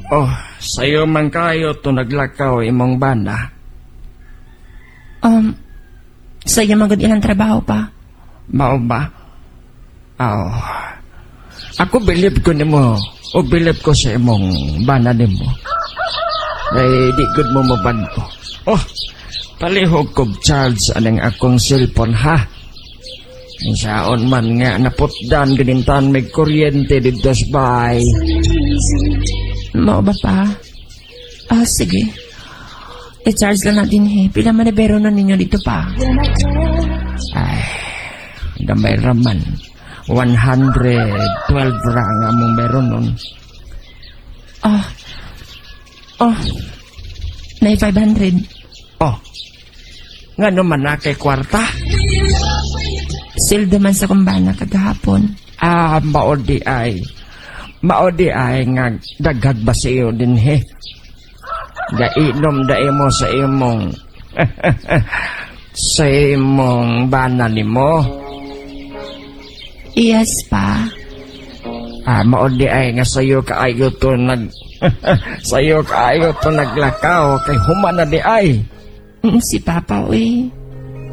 Oh, sayo man kayo to naglakaw imong bana. Sayo man gud ilang trabaho pa. Mao ba? Aw. Ako bilib ko nimo o bilib ko sa imong bana nimo. Ay, di gud mo mabag-o. Oh, palihog kog charge aning akong cellphone, ha. Saon man nga naputdan ganintan may kuryente dito sa bahay. Mao ba pa? Ah, sige. I-charge lang natin eh. Pila man na bero na ninyo dito pa? Ay, gamay raman. 112 ra nga mong meron nun. Ah. Oh. Nay 500. Oh, nga naman na kay kwarta. Sweldo man sa akong bana kagahapon. Ah, mao di ay. Mao di ay nga daghag ba sa iyo din he. Gainom da mo sa imong bana nimo. Yes pa. Ah, mao di ay nga sayo kaayo to naglakaw kay human na di ay. Si Papa, uy.